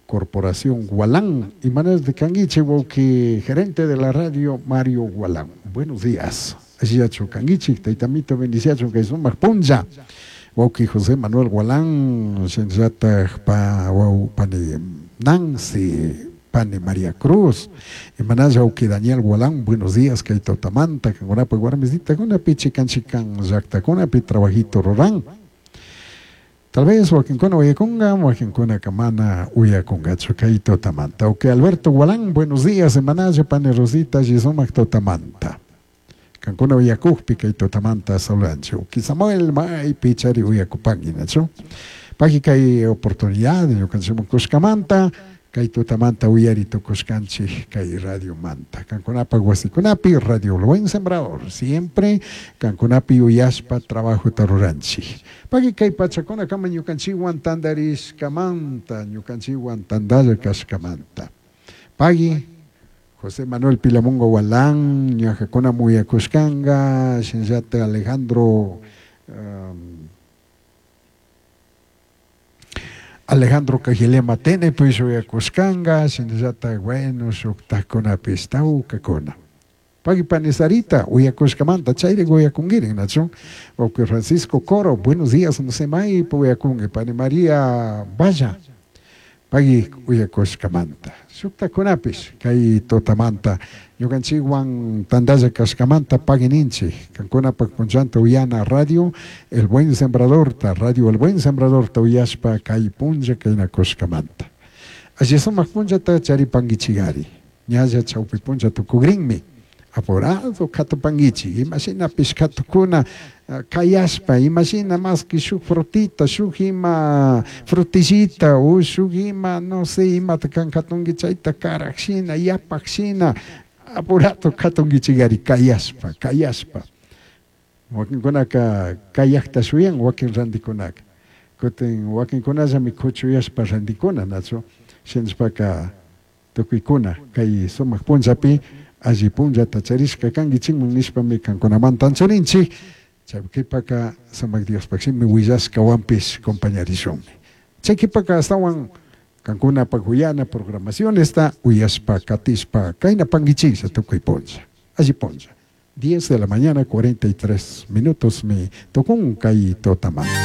Corporación Gualán. Imanastik kanguichik wawqi gerente de la radio Mario Gualán. Buenos días. Allillachu kanguichik, taytamito bendiciachun kay sumaq punlla. Wawqi José Manuel Gualán, shinallatak pa waw pani Nancy, pani María Cruz, imanalla wawqi Daniel Gualán, buenos días kay tutamanta, kankunapak warmisitakunapi chikan chikan llaktakunapi trabajito ruran. Tal vez wakinkuna uyakunga, wakinkunaka mana uyakungachu kay tutamanta. Ok, Alberto Gualán, buenos días, imanalla pani Rosita, alli sumak tutamanta. Kankuna uyakukpi kay tutamanta saludanchik. Uki Samuel maypi chari uyakupanki, nachu? Paki kay oportunidad ñukanchikman kushkamanta, kay tutamanta uyari tukushkanchik kay radiomanta. Kankunapak wasikunapi Radio El Buen Sembrador, siempre kankunapi uyashpa trabajota ruranchik. Paki kay pachakunakama ñukanchikwan tantarishkamanta, ñukanchikwan tantalla kashkamanta. Paki José Manuel Pilamungo Gualán, ñajakuna muyakushkanka, shinallata Alejandro Alejandro Cajilema Tenepish uyakushkanka, shinallata bueno shuktakunapish tawkakuna. Paki pani Sarita uyakushkamanta chayrik uyakunkirin, nachu? Wawqi Francisco Coro, buenos días, no sé maypi uyakunki, pani María Valla, paki uyakushkamanta. Shuktakunapish kay tutamanta ñukanchikwan tantalla kashkamanta paki ninchik, kankunapak punllanta uyana radio El Buen Sembradorta, Radio El Buen Sembradorta uyashpa kay punlla kaynakushkamanta. Alli sumak punllata charipankichikari, ñalla chawpi punlla tukukrinmi. Apurado katupankichik, imashinapish katukuna kayashpa, imashina maski shuk frutita, shuk ima frutillita, o shuk ima, no sé, imata kan katunki chayta karak shina, yapak shina, apurado katunkichikari kayashpa, kayashpa. Wakinkunaka kayakta shuyan, wakin rantikunaka. Kutin wakinkunallami kuchuyashpa rantikuna, nachu? Shinashpaka tukuykuna kay sumak punllapi alli punllata charishka kankichikman nishpami kankunamanta anchurinchik. Chay qhipaka sumak Diospaj shimi willashkawanpish compañarishunmi. Chay qhipaka ashtawan kankunapak uyana programacionesta uyashpa katishpa kaynapankichiklla tukuy punlla, alli punlla. 10 de la mañana 43 minutos mi tukun kay tutamanta.